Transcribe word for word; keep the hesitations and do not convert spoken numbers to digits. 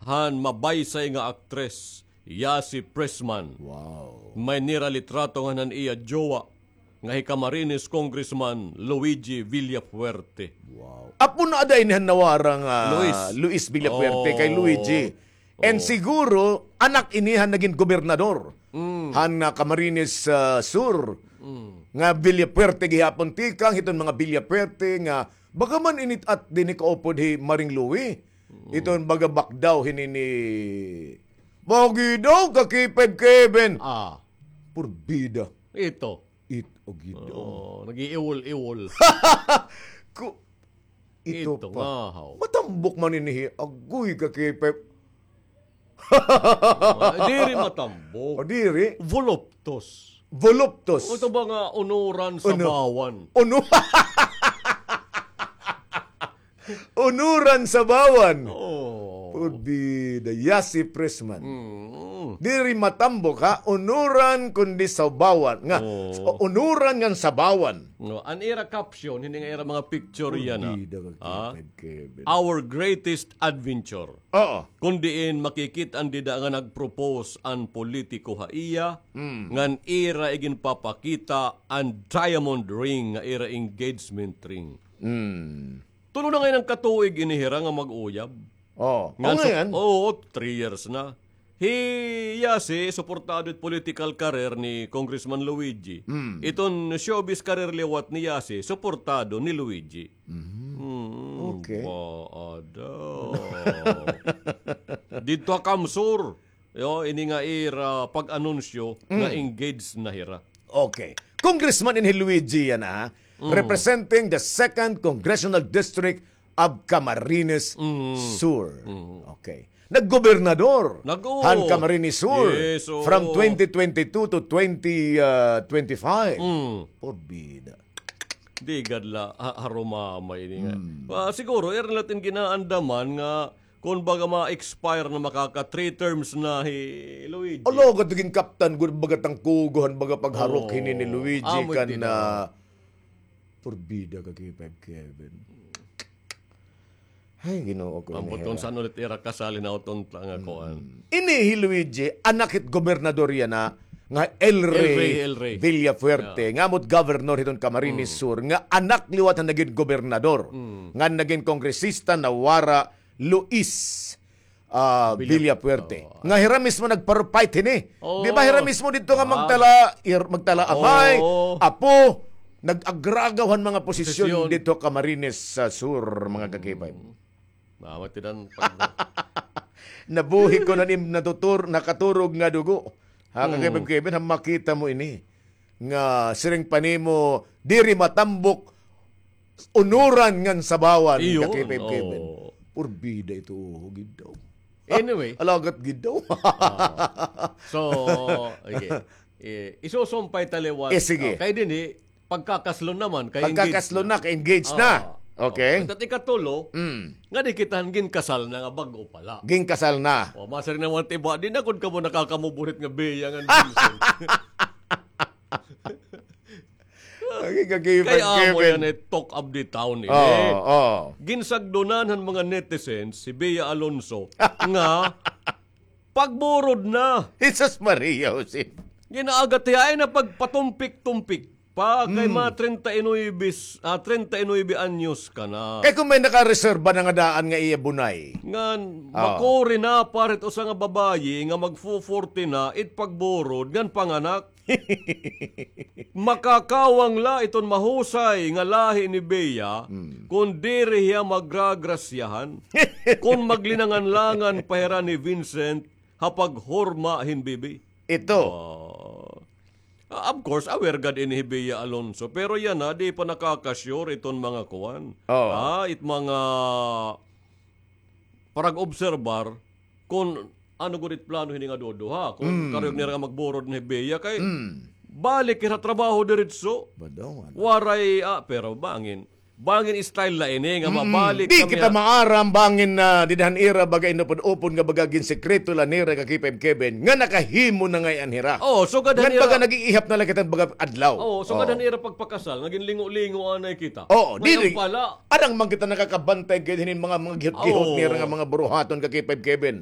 han mabaysay nga aktres, Yasi Pressman. Wow. May niralitrato ngan han iya jowa, nga hi Camarines Congressman Luigi Villafuerte. Wow. Apo na ada ini han nawara nga Luis. Luis Villafuerte kay Luigi. And siguro, anak ini han nagin gobernador han, ah, Camarines, ah, Sur. Nga Villafuerte gihapon tikang, hiton mga Villafuerte nga baga man init-at dinhi kaupod hi Maring Louie. Iton baga bakdaw hini ni Bagi daw ka K five Kevin. Ah. Purbida. Ito. It, o Ginoo. Oh, nag-iiwol-iwol. Ku-, ito pa. Ito nga, haw. Matambok man ini, agoy ka K five. Ah, diri matambok. O, diri? Voluptos. Voluptos. O, ito ba nga unuran sa bawan? Unu-, unuran sa bawan. Oo. Purbida, Yasi Pressman. Mm. Diri matambok, ha? Unuran kundi sabawan. Nga, oo, unuran ngan sabawan. No, an ira caption, hini nga ira mga picture yana. Purbida ka K five Kevin. Our greatest adventure. Oo. Kun diin makikit-an dida nga nag-propose an politiko ha iya, ngan ira iginpapakita an diamond ring nga ira engagement ring. Mm. Tulo na ngay-an ka tuig ini hira nga mag-uyab. Oh, ngan so, oo, three years na. Hi Yasi, suportado it political career ni Congressman Luigi. Mm. Iton showbiz career liwat ni Yasi, suportado ni Luigi. Mm. Mm, okay. Ba, ada. Didto ha CamSur. Yo, ini nga ira pag-anunsyo nga engaged na hira. Okay. Congressman ini hi Luigi yana, ha? Mm. Representing the second Congressional District of Camarines Sur. Mm. Okay. Naggobernador han Camarines Sur from twenty twenty-two to twenty, ah, twenty-five. Mm. Purbida. Di gad la, ha-, harumamay ini nga. Mm. Ah, siguro, ira la it in ginaandaman nga Kun baga ma-expire na, makaka three terms na hi Luigi. Ala, gad gin-captain gud baga tangkugo han baga pagharok hini ni Luigi kan, ah, purbida ka K five Kevin. Ay, Ginoo ko. Ambot kon san ulit ira kasal, hinaot unta nga kuan. Ini hi Luigi, anak hit gobernador yana, nga El Rey, El Rey, El Rey Villafuerte, nga ambot governor hiton Camarines Sur, nga anak liwat han nagin gobernador, nga nagin kongresista, nawara, Luis, ah, Villafuerte. Nga hira mismo nagpa-fight hini. Di ba hira mismo didto nga magtala, magtala amay, apo, nag-agragaw han mga posisyon didto Camarines Sur, mga ka-K five. Nabuhi ko na nim natutur-, nakaturog nga dugo. Ha, ka-K five Kevin, ha, makita mo ini. Nga siring pa nimo, diri matambok, unuran ngan sabawan, ka-K five Kevin. Purbida ito, gid daw. Anyway. Alagat gid daw. So, okay. Eh, isusumpay ta liwat. Eh, sige. Kay dinhi, pagkakaslo naman, kay engaged na. Pagkakaslo na, kay engaged na. Okay. At ikatulo, nga di kita han ginkasal na nga bag-o pa la. Ginkasal na. O, masiring naman it iba, di na gud kamo nakakamuburit nga Bea ngan Vincent. Kay amo yana it talk of the town ini. Ginsagdonan han mga netizens si Bea Alonzo nga pagburod na. Jesus Maria Jose. Ginaagat hiya ay na pagpatumpik-tumpik pa kay mga treinta y nuebe, ah, treinta y nuebe anyos ka na. Kay kon may nakareserba na nga daan nga iya bunay. Ngan makuri na para it usa nga babayi nga magfo-forty na it pagburod ngan panganak. Makakawang la iton mahusay nga lahi ni Bea kon diri hiya magragrasyahan, kon maglinangan-langan pa hira ni Vincent ha paghurma hin bibi. Ito. Ah, of course, aware gad ini hi Bea Alonzo, pero yana, di pa nakaka-sure iton mga kuan. Ah, it mga parag-obserbar kon ano gud it plano hini nga duduha, kon karuyag nira nga magburod ni Bea kay balik hira trabaho diretso. Waray, ah, pero bangin, bangin style la ini nga mabalik. Di kita maaram bangin na dida han ira baga inupod-upod nga baga ginsekreto la nira ka K five Kevin nga nakahimo na ngay-an hira. Oh, sugad han ira baga nag-iihap na la kita baga adlaw. Oh, sugad han ira pagpakasal nga ginlingo-lingo anay kita. Oo, diri. Adang man kita nakakabantay gid hinin mga, mga gihot-gihot nira nga mga buruhaton ka K five Kevin.